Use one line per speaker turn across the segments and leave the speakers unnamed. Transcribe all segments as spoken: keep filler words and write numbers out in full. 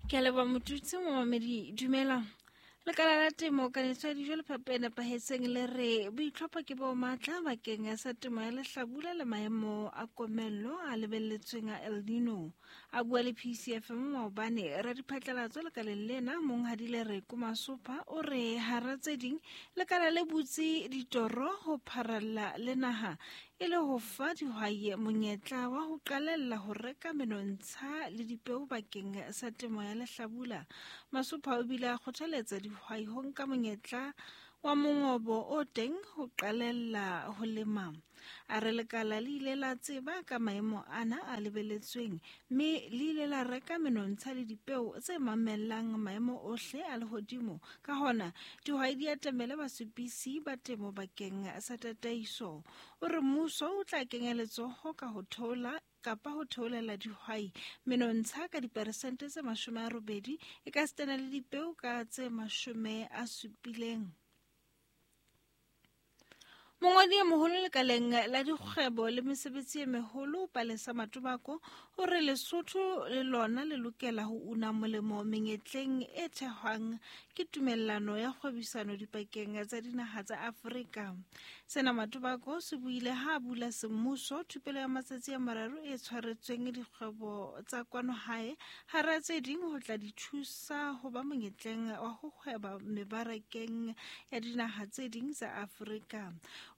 Ke a leboha Motutsi momamedi, dumela. Lekala la temo kanetso ya dijo le phepo e nepahetseng le re boitlhopho ke bo matla bakeng sa temo ya lehlabula le maemo a komello a lebelletsweng a El Nino. A bua le P C F M maobane, radiphatlalatso lekaleng lena Monghadi Lereko Masopha o re hara tse ding lekala le butse ditoro ho pharalla le naha e le ho fa dihwai monyetla wa ho qalella ho reka menontsha le dipeo bakeng sa temo ya lehlabula. Masopha o bile a kgothaletsa dihwai ho nka monyetla wa mongobo o teng ho qalella ho lema. A re lekala le ile la tseba ka maemo ana a lebeletsweng mme le ile la reka menontsha le dipeo tse mamellang maemo ohle a lehodimo. Ka hona dihwai di atamele basupisi ba temo bakeng sa tataiso. O re mmuso o tla kenya letsoho ka ho theola kapa ho theolela dihwai menontsha ka diperesente tse mashome a robedi e ka sitana le dipeo ka tse mashome a supileng. Mongodi e moholo lekaleng la dikgwebo le mesebetsi e meholo Palesa Matobako o re Lesotho le lona le lokela ho una molemo menyetleng e thehwang ke tumellano ya kgwebisano dipakeng tsa dinaha tsa Afrika. Sena Matobako se buile ha a bula semmuso thupelo ya matsatsi a mararo e tshwaretsweng dikgwebo tsa kwano hae hara tse ding ho tla di thusa ho ba monyetleng wa ho hweba mebarakeng ya dinaha tse ding tsa Afrika.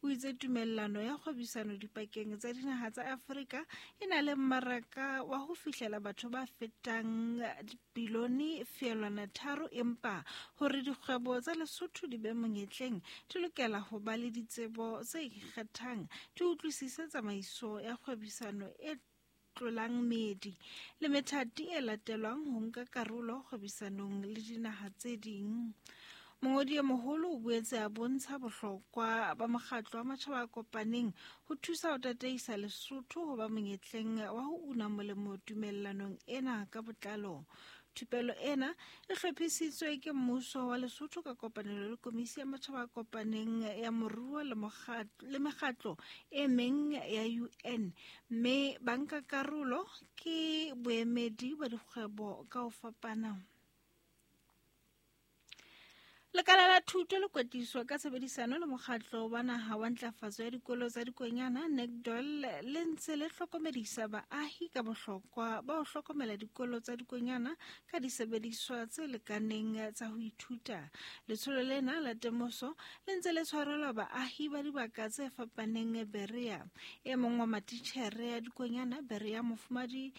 O itse tumellano ya kgwebisano dipakeng tsa dinaha tsa Afrika e na le mmaraka wa ho fihlela batho ba fetang dibilione feelwana tharo, empa hore dikgwebo tsa Lesotho di be monyetleng di lokela ho ba le ditsebo tse ikgethang, di utlwisise tsamaiso ya kgwebisano e tlolang meedi le methati e latelwang ho nka karolo kgwebisanong le dinaha tse ding. Mongodi e moholo o boetse a bontsha bohlokwa ba mokgatlo wa matjhaba a kopaneng ho thusa ho tataisa Lesotho ho ba monyetleng wa ho una molemo tumellanong ena ka botlalo. Thupelo ena e hlophisitswe ke mmuso wa Lesotho ka kopanelo le Komisi ya Matjhaba a Kopaneng ya Moruo le mokgatlo le mekgatlo e meng ya U N, mme bankakarolo ke boemedi ba dikgwebo ka ho fapana. Lekala la thuto le kwetliso ka tshebedisano le mokgatlo wa naha wa ntlafatso ya dikolo tsa dikonyana NECDOL le ntse le hlokomedisa baahi ka bohlokwa ba ho hlokomela dikolo tsa dikonyana ka disebediswa tse lekaneng tsa ho ithuta. Letsholo lena la temoso le ntse le tshwarelwa baahi ba dibaka tse fapaneng Berea. E mong wa matitjhere ya dikonyana Berea, Mofumadi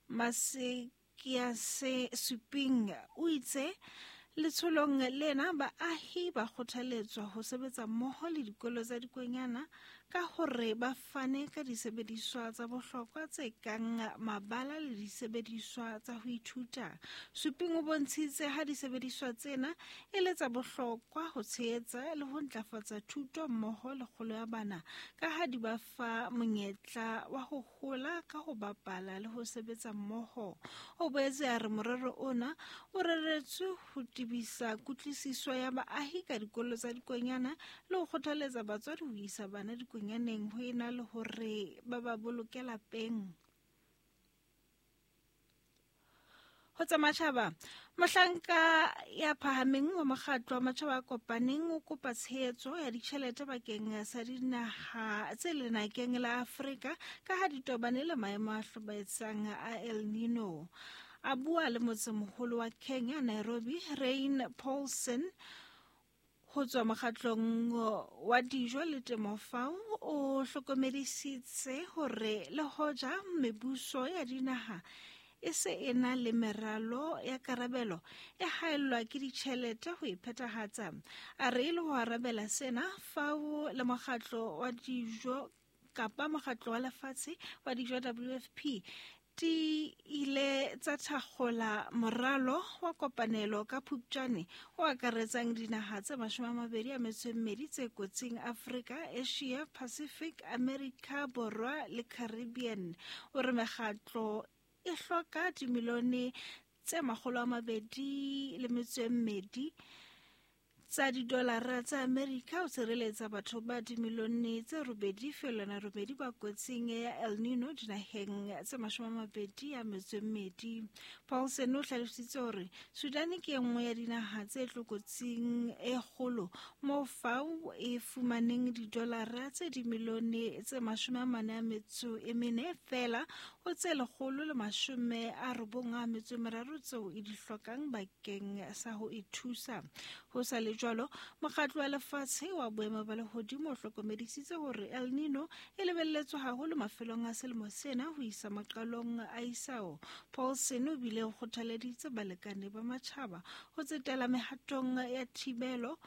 Masekiase Suping, o itse letsholong lena baahi ba kgothaletswa ho sebetsa mmoho le dikolo tsa dikonyana ka hore ba fane ka disebediswa tsa bohlokwa tse kang mabala le disebediswa tsa ho ithuta. Suping o bontshitse ha disebediswa tsena e le tsa bohlokwa ho tshehetsa le ho ntlafatsa thuto mmoho le kgolo ya bana, ka ha di ba fa monyetla wa ho hola ka ho bapala le ho sebetsa mmoho. O boetse a re morero ona o reretswe ho tebisa kutlwisiso ya baahi ka dikolo tsa dikonyana le ho kgothaletsa batswadi ho isa bana dikonyaneng ho ena le hore ba ba boloke lapeng. Ho tsa matjhaba, mohlanka ya phahameng wa mokgatlo wa matjhaba a kopaneng o kopa tshehetso ya ditjhelete bakeng sa dinaha tse lenakeng la Afrika ka ha di tobane le maemo a hlobaetsang a El Nino. A bua le motsemoholo wa Kenya, Nairobi, Rain Paulson ho tswa mokgatlong wa dijo le temo FAO o hlokomedisitse hore le hoja mebuso ya dinaha e se e na le meralo ya karabelo e haellwa ke ditjhelete ho e phethahatsa. A re e le ho arabela sena, FAO le mokgatlo wa dijo kapa mokgatlo wa lefatshe wa dijo W F P di ile tsa thakgola moralo wa kopanelo ka Phupjane o akaretsang dinaha tse mashome a mabedi a metso e mmedi tse kotsing Afrika, Asia, Pacific, America Borwa le Caribbean. O re mekgatlo e hloka dimilione tse makgolo a mabedi le metso e mmedi tsa didolara tsa Amerika ho tshireletsa batho ba dimilione tse robedi feelwana robedi ba kotsing ya El Nino dinaheng tse mashome a mabedi a metso e mmedi. Paulsen o hlalositse hore Sudan ke e nngwe ya dinaha tse tlokotsing e kgolo moo FAO e fumaneng didolara tse dimilione tse mashome a mane a metso e mene feela ho tse lekgolo le mashome a robong a metso e meraro tseo e di hlokang bakeng sa ho e thusa. Ho sa le jwalo, mokgatlo wa lefatshe wa boemo ba lehodimo o hlokomedisitse hore El Nino e lebelletswe haholo mafelong a selemo sena ho isa maqalong a isao. Paulsen o bile o kgothaleditse balekane ba matjhaba ho tsetela mehatong ya thibelo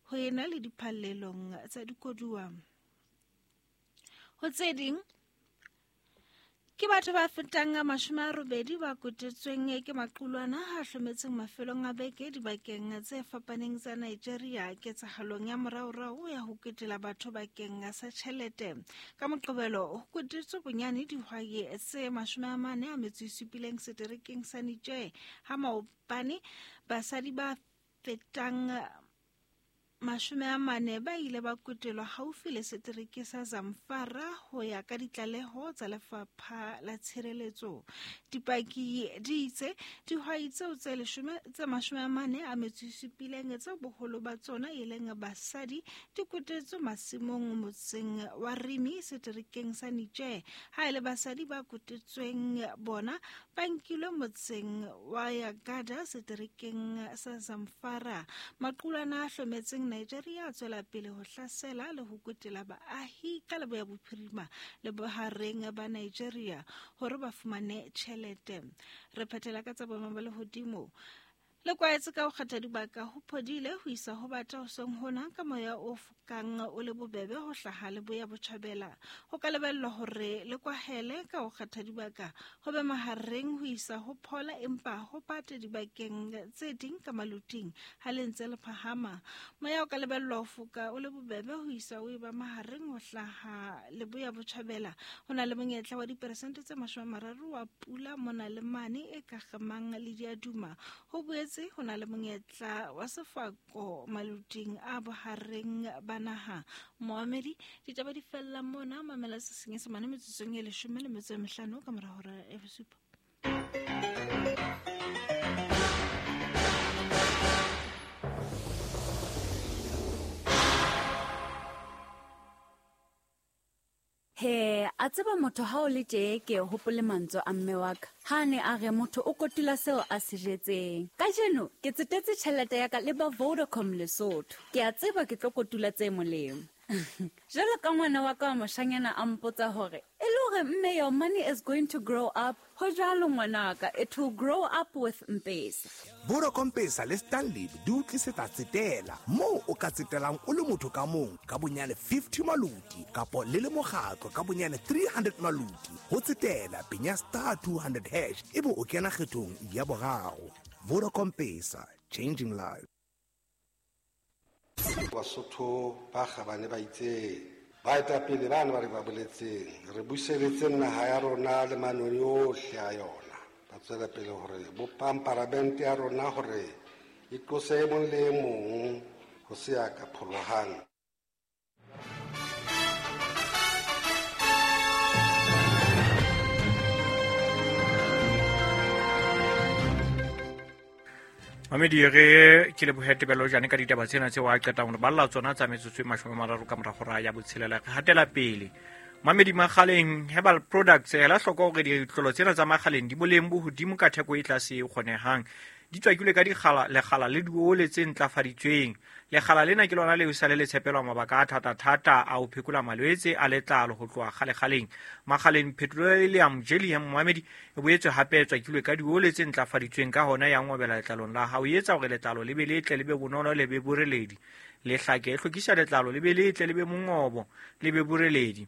ho ena le diphallelong tsa dikoduwa. Ho tse ding, ke batho ba fetang mashome a robedi ba kotetsweng ke maqulwana a hlometseng mafelong a beke dibakeng tse fapaneng tsa Nigeria ketsahalong ya moraorao ya ho ketela batho bakeng sa tjhelete. Ka Moqebelo ho kotetswe bonyane dihwai tse mashome a mane a metso e supileng seterekeng sa Niger, ha maobane basadi ba fetang mashome a mane ba ile ba kotelwa haufi le setereke sa Zamfara ho ya ka ditlaleho tsa lefapha la tshireletso. Dipaki di itse dihwai tseo tse leshome tse mashome a mane a metso e supileng tse boholo ba tsona e leng basadi di kotetswe masimong motseng wa Rimi seterekeng sa Niger. Ha e le basadi ba kotetsweng bona ba nkilwe motseng wa Yagada seterekeng sa Zamfara. Maqulwana a hlometseng Nigeria a tswela pele ho hlasela le ho kotela baahi ka leboya bophirima le bohareng ba Nigeria hore ba fumane tjhelete. Re phethela ka tsa boemo ba lehodimo. Le kwaetse ka ho kgetha dibaka ho phodile ho isa ho bata hoseng hona ka moya o fokang o le bobebe ho hlaha leboya botjhabela. Ho ka lebellwa hore le kwahele ka ho kgetha dibaka ho be mahareng ho isa ho phola empa ho pate dibakeng tse ding ka maluting ha le ntse le phahama. Moya o ka lebellwa ho foka o le bobebe ho isa o eba mahareng ho hlaha leboya botjhabela. Ho na le monyetla wa diperesente tse mashome a mararo wa pula mona le mane e ka kgamang le diaduma. Ho boetse ho na le monyetla wa sefako maluting a bohareng ba naha. Moamedi, ditaba di fella mona, mamela se senyesemane metsotsong e leshome le metso e mehlano ka mora hora ya bosupa.
He, a tseba motho ha o le tje ke hopole mantswe a mme wa ka. Ha ne a re motho o kotula seo a se jetseng. Kajeno ke tsetetse tjhelete ya ka le ba Vodacom Lesotho. Ke a tseba ke tlo kotula tse molemo. Jwalo ka ngwana wa ka wa moshanyana a mpotsa hore e le hore mme your money is going to grow up. Ho jwalo ngwanaka, it will grow up with M-Pesa.
Vodacom Pesa le Stanley di o tlisetsa tsetela moo o ka tsetelang o le motho ka mong ka bonyane fifty maluti kapo le le mokgatlo ka bonyane three hundred maluti. Ho tsetela penya star two hundred hash ebe o kena kgethong ya boraro. Vodacom Pesa, changing lives.
Basotho ba kgabane ba itse baetapele bana ba re ba boletseng re buseletse naha ya rona le manoni ohle a yona. Ba tswela pele hore bopang paramente ya rona hore e tlose e mong le e mong ho se ya ka pholohang.
Mamedi re ke lebohe Tebello Jane ka ditaba tsena tseo a qetang hore balla tsona tsa metsotso e mashome a mararo ka mora hora ya botshelela. Re hatela pele. Mamedi Makgaleng Herbal Products ela hloko hore ditlolo tsena tsa Makgaleng di boleng bo hodimo ka theko e tlase e kgonehang. Di tswakilwe ka dikgala lekgala le diole tse ntlafaditsweng. Lekgala lena ke lona leo sa le le tshepelwa mabaka a thata-thata a ho phekola malwetse a letlalo ho tloha kgale-kgaleng. Makgaleng petroleum jelly ya Mamedi e boetse hape e tswakilwe ka diole tse ntlafaditsweng, ka hona ya ngobela letlalong la hao, e etsa hore letlalo le be letle, le be bonolo, le be boreledi. Le hlake e hlwekisa letlalo le be letle, le be mongobo, le be boreledi.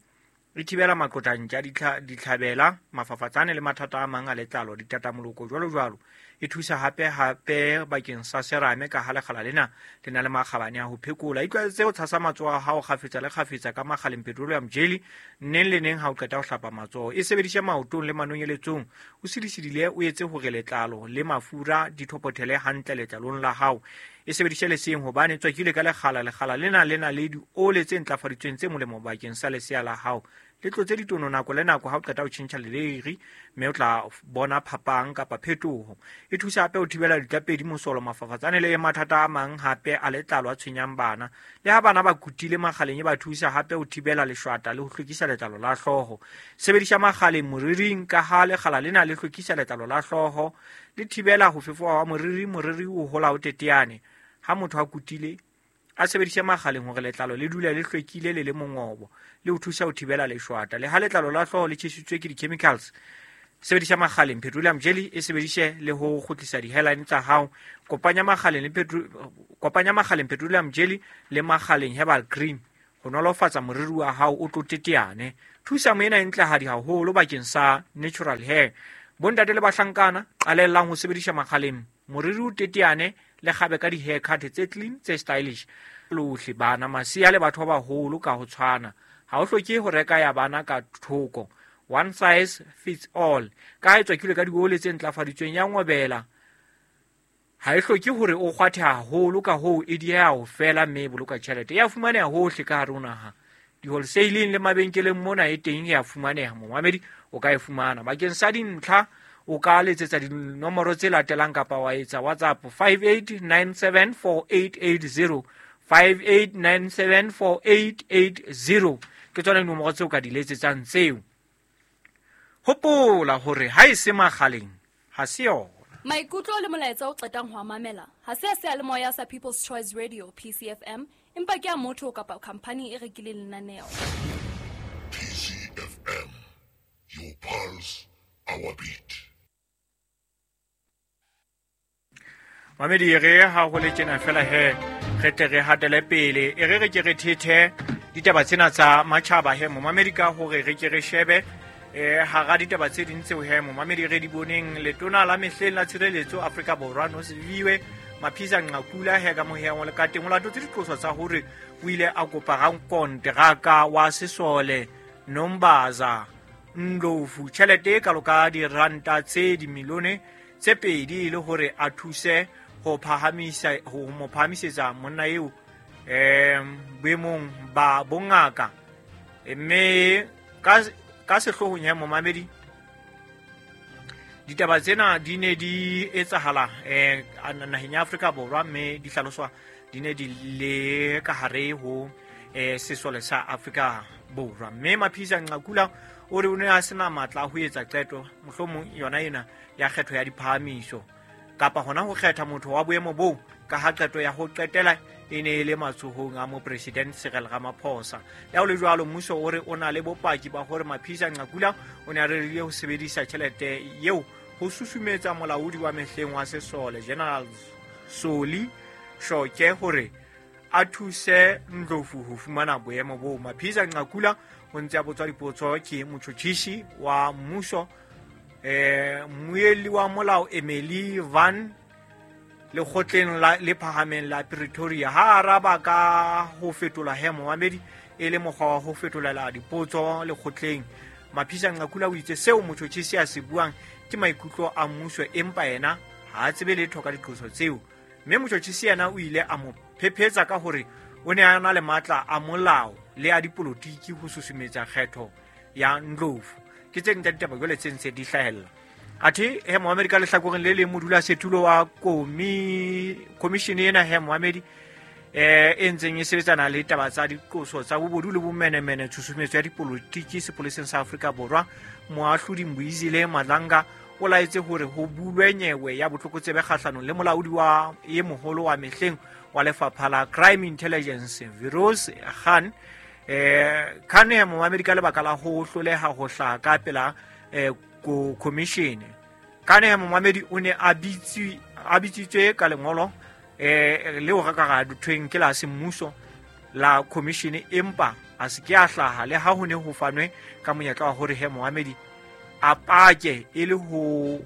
E thibela maqotantja, ditlhabela, mafafatsane le mathata a mang a letlalo, ditatamoloko jwalo jwalo. E thusa hape hape bakeng sa serame ka ha lekgala lena le na le makgabane a ho phekola. Itlwaetse ho tshasa matsoho a hao kgafetsa le kgafetsa ka makgaleng petroleum jelly neng le neng ha o qeta ho hlapa matsoho. E sebedise maotong le manonyeletsong. O sidisidile o etse hore letlalo le mafura di thopothele hantle letlalong la hao. E sebedise leseng hobane tswakile ka lekgala. Lekgala lena le na le diole tse ntlafaditsweng tse molemo bakeng sa lesea la hao. Le tlotse ditono nako le nako ha o qeta ho tjhentjha leleiri, mme o tla bona phapang kapa phetoho. E thusa hape ho thibela ditlapedi, mosolo, mafafatsane le mathata a mang hape a letlalo a tshwenyang bana. Le ha bana ba kutile makgaleng, e ba thusa hape ho thibela leshwata le ho hlwekisa letlalo la hlooho. Sebedisa makgaleng moriring ka ha lekgala lena le hlwekisa letlalo la hlooho, le thibela ho fefoha wa moriri, moriri o hola o teteane. Ha motho a kutile, a sebedise makgaleng hore letlalo le dule le hlwekile le le mongobo, le ho thusa ho thibela leshwata. Le ha letlalo la hlooho le tjhesitswe ke di-chemicals, sebedisa makgaleng petroleum jelly, e sebedise le ho kgutlisa di-hairline tsa hao. Kopanya makgaleng le petro kopanya makgaleng petroleum jelly le makgaleng herbal cream ho nolofatsa moriri wa hao o tlo teteane. Thusa moena e ntlehadi haholo bakeng sa natural hair. Bontate le bahlankana, qalellang ho sebedisa makgaleng moriri o teteane le kgabe ka di-haircut tse clean tse stylish. Lohle bana, masea le batho ba baholo ka ho tshwana. Ha o hloke ho reka ya bana ka thoko. One size fits all. Ka ha e tswakilwe ka diole tse ntlafaditsweng ya ngobela, ha e hloke hore o kgwathe haholo, ka hoo e dieha ho fela mme e boloka tjhelete. E a fumaneha hohle ka hare ho naha. Di-wholesaleng le mabenkeleng mona e teng e a fumaneha. Momamedi o ka e fumana. Bakeng sa dintlha o ka letsetsa dinomoro tse latelang kapa wa etsa WhatsApp five eight nine seven four eight eight zero, five eight nine seven four eight eight zero. Ke tsona dinomoro tseo ka di letsetsang tseo. Hopola hore ha e se makgaleng ha se yona.
Maikutlo le molaetsa o qetang ho a mamela ha se a seyalemoya sa People's Choice Radio P C F M, empa ke a motho kapa khampani e rekileng lenaneo.
P C F M, your pulse, our beat.
Mamedi, re ha ho le tjena fela he, re tle re hatele pele. E re re ke re thethe ditaba tsena tsa matjhaba he, momamedi, ka hore re ke re shebe eh hara ditaba tse ding tseo he, momamedi, re di boneng. Letona la mehleng la tshireletso Afrika Borwa Nosiviwe Mapisa Nqakula he ka moheng wa le ka teng o latotse diqoso tsa hore o ile a kopa rankonteraka wa sesole Nombaza Ndlovu tjhelete e kalo ka diranta tse dimilione tse pedi e le hore a thuse ho phahamisa ho mo phahamisetsa monna eo eh boemong ba bongaka. Mme ka ka sehloohong ya momamedi, ditaba tsena di ne di etsahala eh naheng ya Afrika Borwa, mme di hlaloswa di ne di le ka hare ho eh sesole sa Afrika Borwa. Mme Mapisa Nqakula o re o ne a sena matla a ho etsa qeto mohlomong yona ena ya kgetho ya diphahamiso kapa hona ho kgetha motho wa boemo boo, ka ha qeto ya ho qetela e ne e le matsohong a mopresidente Cyril Ramaphosa. Le ha ho le jwalo, mmuso o re o na le bopaki ba hore Mapisa Nqakula o ne a rerile ho sebedisa tjhelete eo ho susumetsa molaodi wa mehleng wa sesole General Soli Shoke hore a thuse Ndlovu ho fumana boemo boo. Mapisa Nqakula o ntse a botswa dipotso ke motjhotjhisi wa mmuso eh mmuelli wa molao Emily Van lekgotleng la le phahameng la Pretoria. Ha araba ka ho fetola he momamedi e le mokgwa wa ho fetolela dipotso lekgotleng, Mapisa Nqakula o itse seo motjhotjhisi a se buang ke maikutlo a mmuso, empa yena ha a tsebe letho ka diqoso tseo. Mme motjhotjhisi yena o ile a mo phephetsa ka hore o ne a na le matla a molao le a dipolotiki ho susumetsa kgetho ya Ndlovu. Ke tse ding tsa ditaba jwale tse ntse di hlahella. Athe he momamedi, ka lehlakoreng le leng modulasetulo wa komi commission ena he momamedi eh e ntseng e sebetsana le taba tsa diqoso tsa bobodu le bomenemene tshusumetso ya dipolotiki sepoleseng sa Afrika Borwa, moahlodi Mbuyisile Madlanga o laetse hore ho bulwe nyewe ya botlokotsebe kgahlanong le molaodi wa e moholo wa mehleng wa lefapha la Crime Intelligence Firoz Khan. Eh Khan he momamedi ka lebaka la ho hloleha ho hlaha ka pela eh ko commission. Khan he momamedi o ne a bitsi a bitsitswe ka lengolo eh leo re ka ra thweng ke la semmuso la commission, empa a se ke a hlaha le ha ho ne ho fanwe ka monyetla wa hore he momamedi a pake e le ho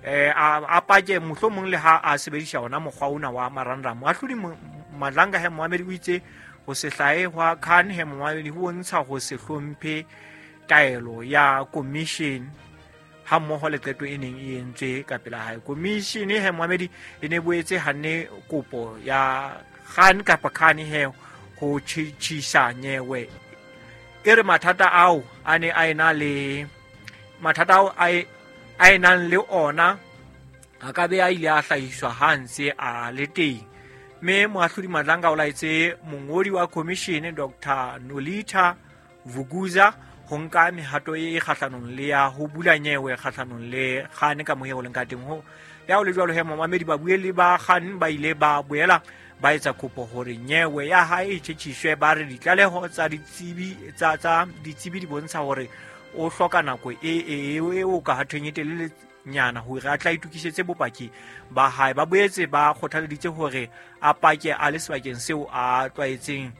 eh a pake mohlomong le ha a sebedisa ona mokgwa ona wa marangrang. Moahlodi Madlanga he momamedi o itse ho se hlahe hwa Khan he momamedi ho bontsha ho se hlomphe taelo ya commission ha mmoho le qeto e neng e entswe ka pela hae. Commission he momamedi e ne boetse hanne kopo ya Khan kapa Khan he ho tjhisa nyewe e re mathata ao a ne a ena le mathata ao a a enang le ona a ka be a ile a hlahiswa ha ntse a le teng. Mme moahlodi Madlanga o laetse mongodi wa commission Doctor Nolita Vuguza ho nka mehato e kgahlanong le ya ho bula nyewe kgahlanong le Khan ka mohe o leng ka teng. Ho ya ho le jwalo he momamedi babuelli ba Khan ba ile ba boela ba etsa kopo hore nyewe ya hae e tjhetjhiswe. Ba re ditlaleho tsa ditsebi tsa tsa ditsebi di bontsha hore o hloka nako e e e o ka hathweng e telele nyana hore a tla itokisetse bopaki ba hae. Ba boetse ba kgothaleditse hore a pake a le sebakeng seo a tlwaetseng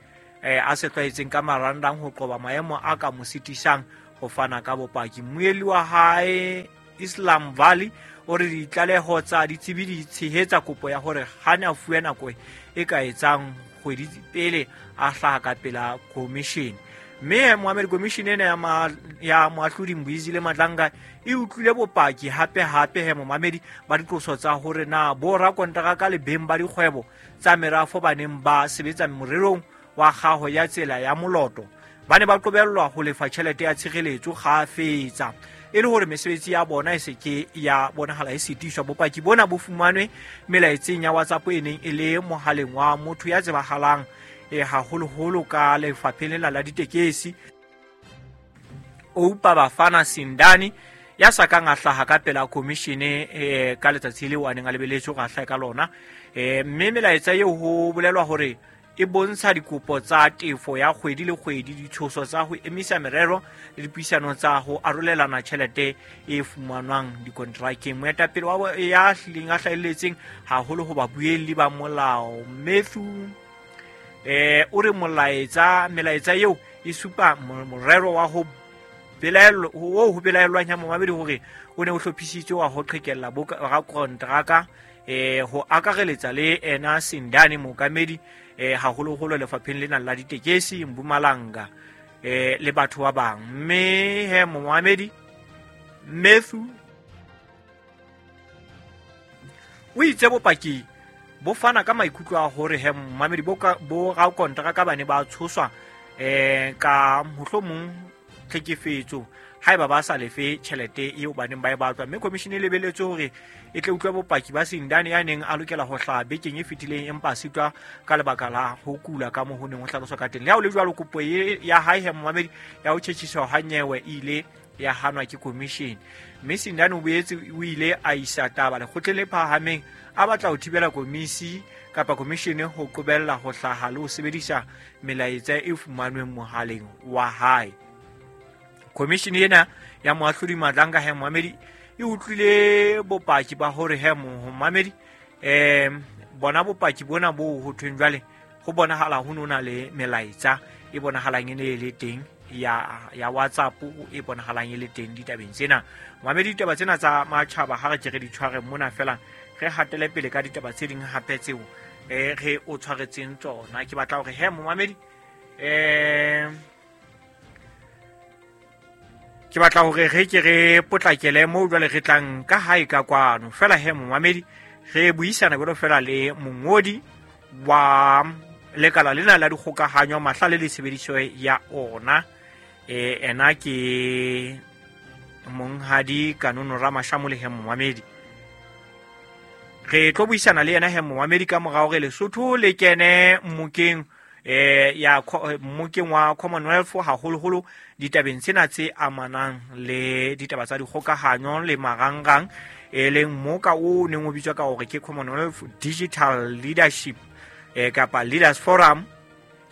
eh a se tlwaetseng ka marangrang ho qoba maemo a ka mo sitisang ho fana ka bopaki. Mmuelli wa hae Islam Valley o re ditlaleho tsa ditsebi di tshehetsa kopo ya hore Khan a fuwe nako e ka etsang kgwedi pele a hlaha ka pela commission. Mme Mohammed commission ena ya ma, ya moahlodi Mbuyisile Madlanga e utlwile bopaki hape hape he momamedi ba diqoso tsa hore na bo rakonteraka le beng ba dikgwebo tsa merafo ba neng ba sebetsa morerong wa kgaho ya tsela ya Moloto ba ne ba qobellwa ho lefa tjhelete ya tshireletso kgafetsa e le hore mesebetsi ya bona e se ke ya bonahala e sitiswa. Bopaki bona bo fumanwe melaetseng ya WhatsApp e neng e le mohaleng wa motho ya tsebahalang e haholoholo ka lefapheng lena la ditekesi Oupa Bafana Sindani ya sa kang a hlaha ka pela commission e ka letsatsi leo a neng a lebeletswe go hlaha ka lona. E mme melaetsa eo ho bolelwa hore e bontsha dikopo tsa tefo ya kgwedi le kgwedi, ditshoso tsa ho emisa merero le dipuisano tsa ho arolelana tjhelete e fumanwang dikontrakeng. Moetapele wa ya hlileng a hlahelletseng haholo ho babuelli ba molao Matthew eh o re molaetsa melaetsa eo e supa morero wa ho belaelo ho ho belaelwang ya momamedi hore o ne o hlophisitswe wa ho qhekella bo rakontraka eh ho akareletsa le ena Sindani mookamedi eh haholoholo lefapheng lena la ditekesi Mpumalanga eh le batho ba bang. Mme he momamedi Matthew o itse bopaki bo fana ka maikutlo a hore he momamedi bo bo rakontraka ba ne ba tshoswa eh ka mohlomong tlhekefetso haeba ba sa lefe tjhelete eo ba neng ba e batlwa. Mme commission e lebeletse hore e tle utlwe bopaki ba Sindani ya neng a lokela ho hlaha bekeng e fetileng empa a sitwa ka lebaka la ho kula ka moo ho neng ho hlaloswa ka teng. Le ha ho le jwalo, kopo ya hae he momamedi ya ho tjhetjhiswa ha nyewe e ile ya hanwa ke commission. Mme Sindani o boetse o ile a isa taba lekgotleng le phahameng a batla ho thibela komisi kapa commission ho qobella ho hlaha le ho sebedisa melaetsa e fumanweng mohaleng wa hae. Commission ena ya moahlodi Madlanga he momamedi e utlwile bopaki ba hore he momamedi eh bona bopaki bona bo ho thweng jwale ho bonahala ho nona le melaetsa e bonahalang e ne le teng ya ya WhatsApp e bonahalang e le teng ditabeng tsena. Momamedi, ditaba tsena tsa matjhaba ha re ke re di tshware mona fela re hatele pele ka ditaba tse ding hape tseo eh re o tshwaretseng tsona. Ke batla hore he momamedi eh ke batla hore re ke re potlakele moo jwale re tlang ka hae ka kwano fela he momamedi re buisana jwalo fela le mongodi wa lekala lena la dikgokahanyo mahlale le tshebediso ya ona eh ena ke monghadi Kanono Ramashamu le he momamedi. Re tlo buisana le yena he momamedi ka morao re Lesotho le kene mmokeng eh ya mmokeng wa Commonwealth haholoholo ditabeng tsena tse amanang le ditaba tsa dikgokahanyo le marangrang e leng moka o neng o bitswa ka hore ke Commonwealth Digital Leadership eh kapa Leaders Forum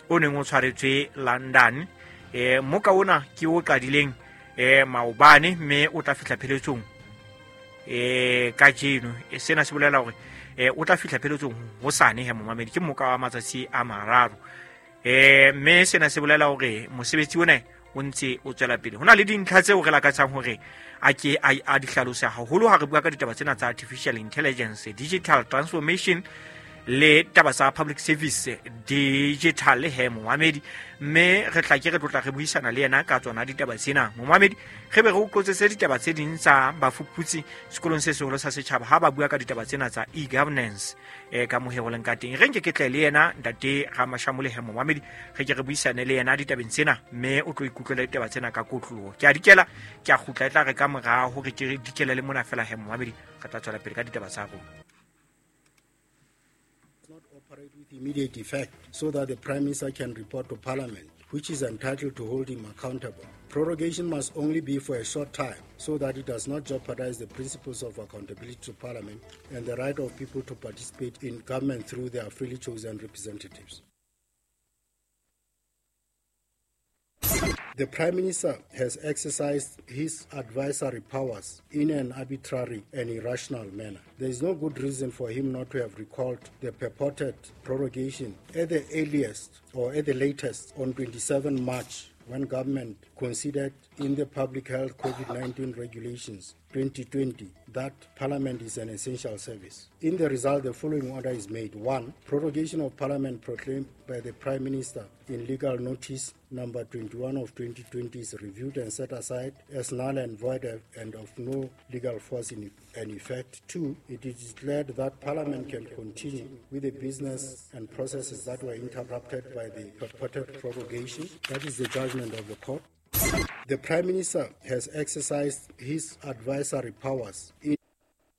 o neng o tshwaretswe London. Eh moka ona ke o qadileng eh maobane mme o tla fihla pheletsong eh kajeno. E sena se bolela hore eh o tla fihla pheletsong hosane he momamedi, ke moka wa matsatsi a mararo. Eh mme sena se bolela hore mosebetsi ona o ntse o tswela pele. Hona le dintlha tseo re lakatsang hore a ke a di hlalose haholo ha re bua ka ditaba tsena tsa artificial intelligence, digital transformation le taba tsa public service digital he momamedi, mme re tla ke re tlotla re buisana le yena ka tsona ditaba tsena. Momamedi re be re o qotsetse ditaba tse ding tsa bafuputsi sekolong se seholo sa setjhaba ha ba bua ka ditaba tsena tsa e-governance e ka mohego leng ka teng. Re nke ke tle le yena ntate Ramashamole he momamedi, re ke re buisane le yena ditabeng tsena mme o tlo ikutlwela ditaba tsena ka kotloloho. Ke a dikela ke a kgutla e tla re ka mora hore ke re dikele le mona fela he momamedi, re tla tswela pele ka ditaba tsa rona.
Operate with immediate effect so that the Prime Minister can report to Parliament, which is entitled to hold him accountable. Prorogation must only be for a short time so that it does not jeopardize the principles of accountability to Parliament and the right of people to participate in government through their freely chosen representatives. The Prime Minister has exercised his advisory powers in an arbitrary and irrational manner. There is no good reason for him not to have recalled the purported prorogation at the earliest or at the latest on twenty-seventh March, when government considered in the Public Health COVID nineteen Regulations twenty twenty that Parliament is an essential service. In the result, the following order is made. One, prorogation of Parliament proclaimed by the Prime Minister in legal notice number twenty-one of twenty twenty is reviewed and set aside as null and void and of no legal force in and effect. Two, it is declared that Parliament can continue with the business and processes that were interrupted by the purported prorogation. That is the judgment of the court. The Prime Minister has exercised his advisory powers in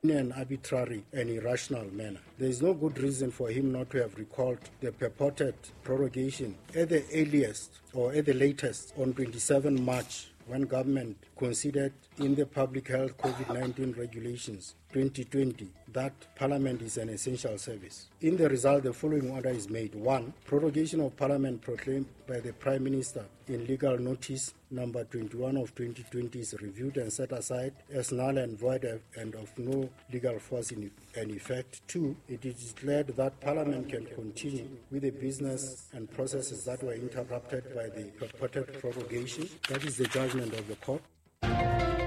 an arbitrary and irrational manner. There is no good reason for him not to have recalled the purported prorogation at the earliest or at the latest on twenty-seventh March, when government considered in the Public Health COVID nineteen Regulations twenty twenty that Parliament is an essential service. In the result, the following order is made. One, prorogation of Parliament proclaimed by the Prime Minister in legal notice number twenty-one of twenty twenty is reviewed and set aside as null and void and of no legal force in and effect. Two, it is declared that Parliament can continue with the business and processes that were interrupted by the purported prorogation. That is the judgment of the court.